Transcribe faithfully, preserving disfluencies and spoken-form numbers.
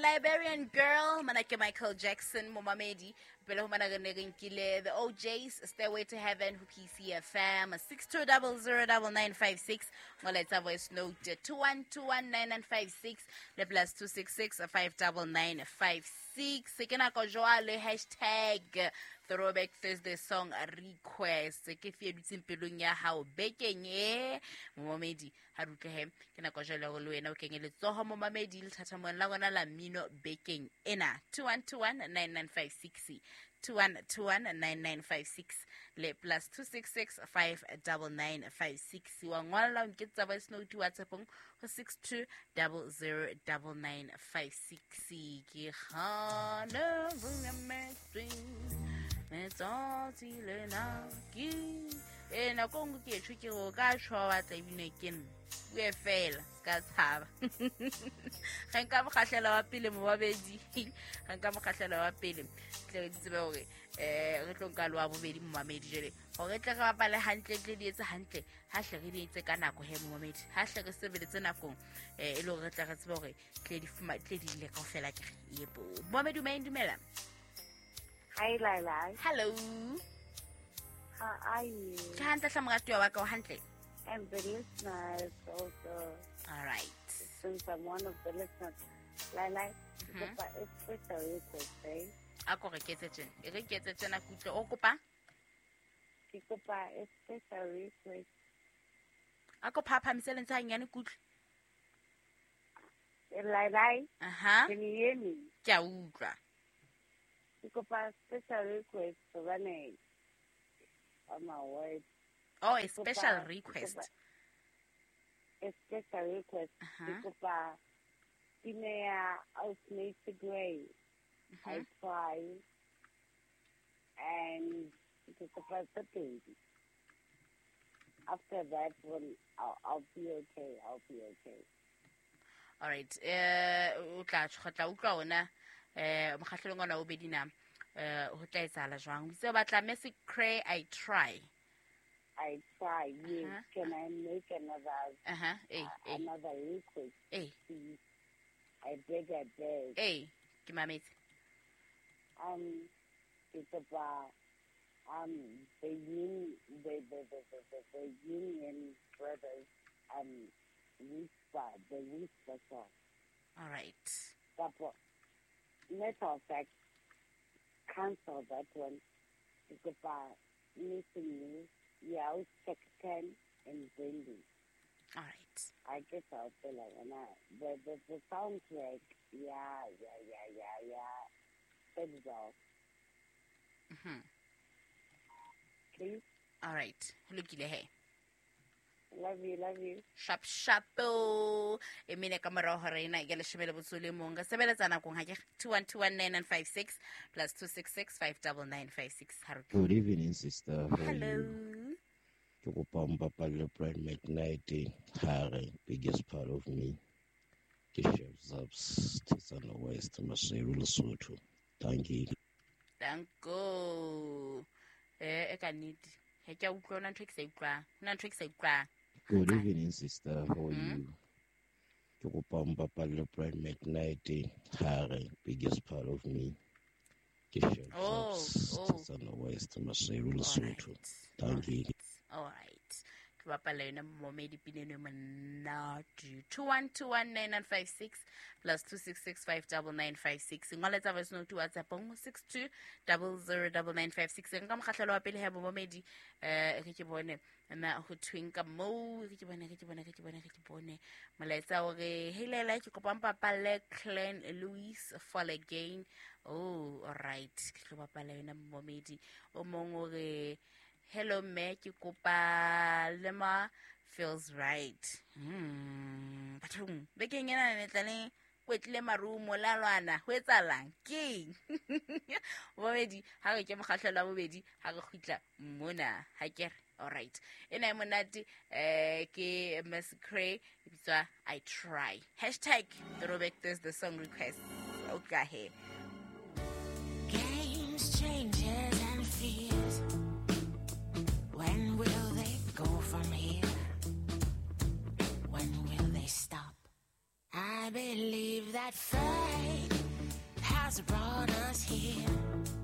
Liberian Girl, mana ke Michael Jackson, momamedi. Pele ho mana re ne re nkile The O'Jays, Stairway to Heaven, ho P C F M, six two double zero double nine five six. Ngoletsa voice note two one two one nine nine five six le plus two six six five double nine five six. Ke nako jwale hashtag Throwback Thursday song request. Ke fie dutseng pelong ya hao bekeng e momamedi ha re utlwe he ke nako jwale hore le wena o kenye letsoho momamedi lethathamong la rona la mmino bekeng ena. Two one two one nine nine five six, two one two one nine nine five six le plus two six six five double nine five six. Wa ngolla o nketsa voice note WhatsApp-ong ho six two double zero double nine five six. Ke hana bomamedi letsatsi lena ke e nako nngwe ke etjho ke o ka tjho wa tla ebile ke nna bue fela se ka tshaba. Ga nka mokgahlelo wa pele momamedi, ga nka mokgahlelo wa pele tle re tsebe hore eh re tlo nka lo wa bobedi momamedi jwale hore tle re bapale hantle tle di etse hantle ha hle re di etse ka nako he momamedi ha hle re sebeletse nakong eh e le hore re tle re tsebe hore tle di fuma tle di ile kaofela ke re yebo momamedi o dumela. Hi, Laila. Hello. How are you? Ke hantle hle moratuwa wa ka o hantle. I'm the listeners also. All right. Since I'm one of the listeners, Laila, mm-hmm. Kopa e special request, eh? A ko re ketse tjena. E re ketse tjena ke utlwe o kopa? Ke kopa e special request. A ko phaphamise lentswe hanyane ke utlwe. Laila. Aha. Can you hear me? Ke a utlwa. Ke kopa special request hobane on my word. Oh, a special request. A special request. Ke kopa pina ya Ausmacy Gray. I try. And ke kopa tse pedi. After that one, I'll, I'll be okay. I'll be okay. All right. Eh, o tla tla utlwa ona eh mokgahlelong ona o bedi na eh ho tla etsahala jwang? O itse o batla Mercy Cray, I Try. I try, yes. Uh-huh. Can I make another uh-huh. hey, uh, hey. another request? Hey. Please? I beg, I beg. Hey, ke mametse. Um, it's about um the union, the the the the, the, the Union Brothers um whisper, the whisper song. All right. But matter of fact, cancel that one. It's about missing you. Yeah, I'll check ten and Brandy. All right. I guess I'll feel like and I, the, the the soundtrack. Yeah, yeah, yeah, yeah, yeah. That's all. Mm-hmm. Please. All right. Lokile he. Love you, love you. Sharp shapo. E mene ka morao hore ena ke leshome le botso le mong. Re sebeletsa nakong ha ke two one two one nine nine five six plus two six six five double nine five six. Good evening, sister. How Hello. Ke kopa mpapalle Brian McKnight, Hare, biggest part of me. Ke Chef Zaps, Tsana West, Maseru, Lesotho. Thank you. Danko. Eh, e ka nnete. He ke a utlwa ona ntho e ke sa utlwang. Ona ntho e ke sa utlwang. Good evening, sister. How are mm-hmm. you? Ke kopa mpapalle Brian McKnight, Hare, biggest part of me. Ke Chef Oh, Zaps, oh. Tsana West, Maseru, Lesotho. Thank you. All right. Ke bapala yona momedi pina eno e monate. two one two one nine nine five six plus two six six five double nine five six. Ngoletsa voice note WhatsApp ho six two double zero double nine five six. Nka mokgahlelo wa pele he momedi eh re ke bone na ho thweng ka moo, re ke bone re ke bone re ke bone re ke bone molaetsa o re hey Laila ke kopa mpapalle Clan Louis Fall Again. Oh, all right. Ke tlo bapala yona momedi. O mong o re hello me ke kopa Lema Feels Right. Hmm, bathong bekeng ena ne tla le kwetlile marumo la lwana ho etsahalang keng? Bobedi ha re ke mokgahlelo wa bobedi ha re kgutla mona ha ke re all right. Ena e monate eh ke Miss Cray e bitswa I Try. Hashtag Throwback Thursday song request. Okay he. Games, changes and fears. When will they go from here? When will they stop? I believe that fate Has brought